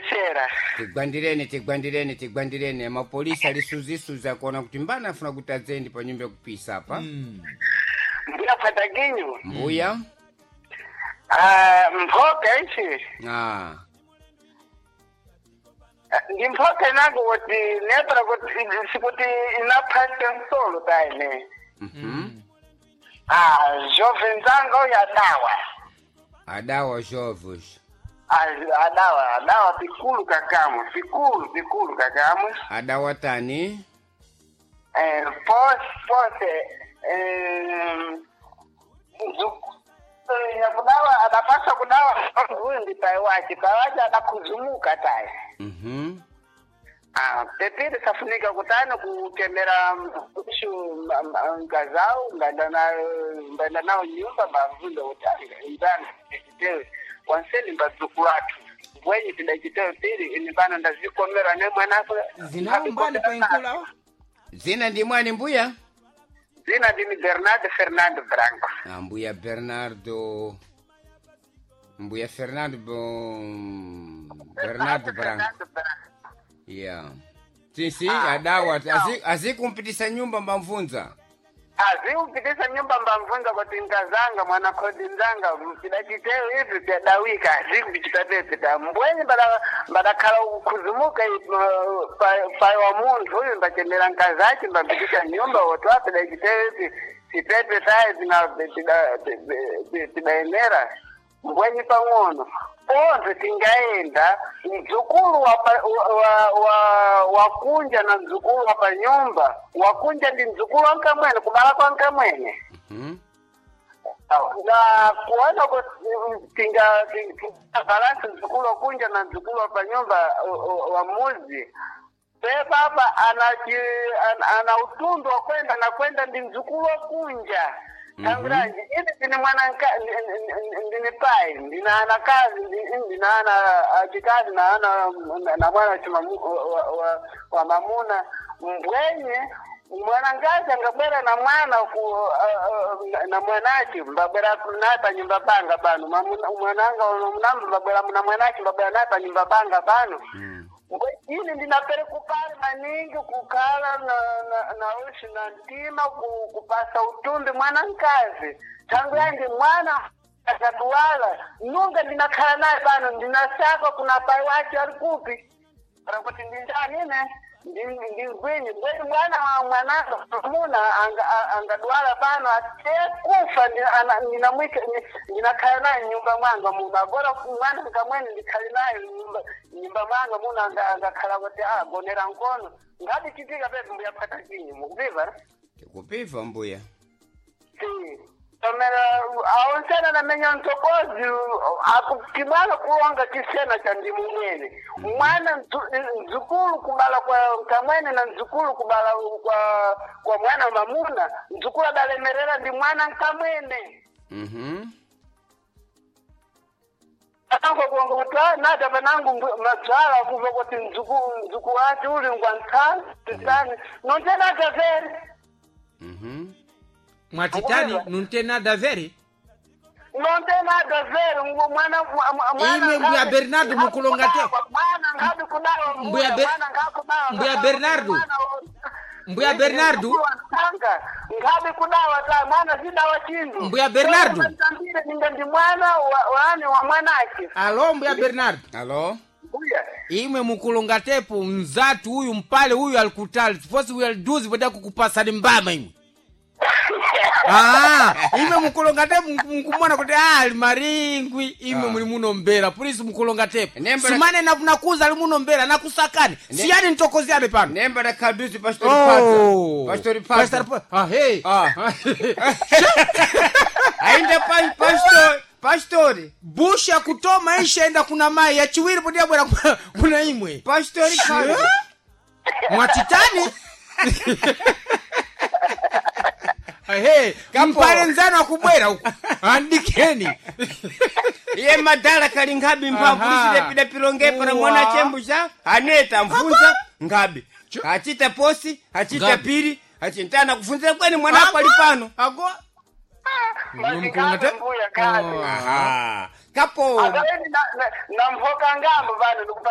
Tikumvesera. Tigwandireni, tigwandireni, tigwandireni. Mapolisi alisuzisuza kuona kuti mbana afuna kuti adzendi pa nyumba yakupisa apa. Mbuya Pataginyu. Mbuya. Ah, mphoka ichi. Ah. Ndi mphoka inango kuti nepera kuti sikuti inaphasa nsolo taine. Mhm. Ah, jovem zanga uyu adawa. Adawa jovos. Ah, adawa, adawa pikulu kakamwe, pikulu, pikulu kakamwe. Adawa tani. Pose, pose, nyakudawa adapasa kudawa huyu ndi pai wache, pai wache adakuzumuka tayi. Mhm. Ah, pepiri safunika kutani kutemera ushu ngazao nganda nayo nganda nayo nyumba mbavunda kuti ndani chitewe wanseni mbadzukulu athu mbwenyi tidachitewe piri ini pano ndazikomera ne mwanako. Zinawo mbali painkulawo. Zina ndi mwani mbuya? Zina ndini Bernardo Fernando Branco. Ah, mbuya Bernardo. Mbuya Fernando Bernardo Branco. Fernando Branco. Yeah. Sisi adawa azikumpitisa nyumba mbamvunza. Aziupitisa nyumba mbamvunza kuti nkazanga mwana khodi nzanga tidachitewe ivi pyadawika azikupichitapepe ta mbwenyi mbadakhala kukhuzumuka pai wa munthu uyu mbachemera nkazace mbampitisha nyumba wotwa pidachitewe ivi sipepe tayi tidaenera mbwenyi pang'ono pontho tingaenda mdzukulu wakunja na mdzukulu wa panyumba wakunja ndi mdzukulu wa nkamwene kubala kwa nkamwene. Mhm. Na kuona kuti tinga balansi mdzukulu wakunja na mdzukulu wa panyumba wa muzi pepapa ana utundu wakwenda nakwenda ndi mdzukulu wakunja. Tanguranji ini ndine mwana ndine pai ndina ana kazi ndina ana achikazi na ana na mwana wa mamuna mbwenye mwanangazi angabwera na mwana ku na mwanachi mbabwera naye panyumba panga pano mwananga munamba mbabwera na mwanachi mbabwera naye panyumba panga pano. Ini ndinapere kupali maningi kukhala na ushi na mtima kupasa utumbi mwana nkazi tangu yangi mwana akatuwala nunga ndinakhala naye pano ndinasaka kuna pai wache ali kupi para kuti ndinjani ine ndingwinyi mbweni mwana mwananga muna angadwala pano atekufa ndinamwika ndinakhala naye nyumba mwanga muno agora mwana nkamwene ndikhale naye nyumba mwanga muno angakhala kuti agonera nkono ngati chitika pepi mbuya phata chinyi mukupiva. Tikupiva mbuya. Si tomera aonsena namenya mtokozi akukibala kulonga chisena cha ndimu mwene mwana mdzukulu kubala kwa kamwene na mdzukulu kubala kwa mwana mamuna mdzukulu adalemerera ndi mwana nkamwene. Mhm. Ango kuonga kuti nada panangu madzala kuva kuti mdzukulu wacho uli ngwantsani titani nontena tavere. Mhm. Mwatitani nunte nada veri. Nontena tavere mwana mwana. Imwe mbuya Bernardo mukulonga te. Mwana ngabi kudawa Mbuya Mbuya Bernardo. Mbuya Bernardo. Ngabi kudawa ta mwana zidawa chindu. Mbuya Bernardo. Ninga ndi mwana wani wa mwanake. Alo mbuya Bernardo. Alo. Mbuya. Imwe mukulonga tepo mzatu huyu mpale huyu alikutali. Siposi huyu aliduzi poda kukupasani mbama imwe. Ah, imwe mukulonga tepo mukumona kuti ali maringwi imwe muli muno mbera polisi mukulonga tepo simane nakuza ali muno mbera nakusakani siyani ntokoziane pano nemba da kaduzi pastori oh. Pastori pastor ah hey ah ainda pastor pastori busha kutoma ishaenda kuna mai ya chiwiri podi yabwera kuna imwe pastori mwatitani. Ehe, mpale nzano akubwera uku andikeni iye madala kali nkhabi mphamvu lisile pilongepo na mwana chembucha aneta mfunza ngabi achita posi achita piri achintana kufunzira kweni mwana ako ali pano ago Mbuya kazi. Aha. Kapo Namvoka ngambo vanhu ndikupa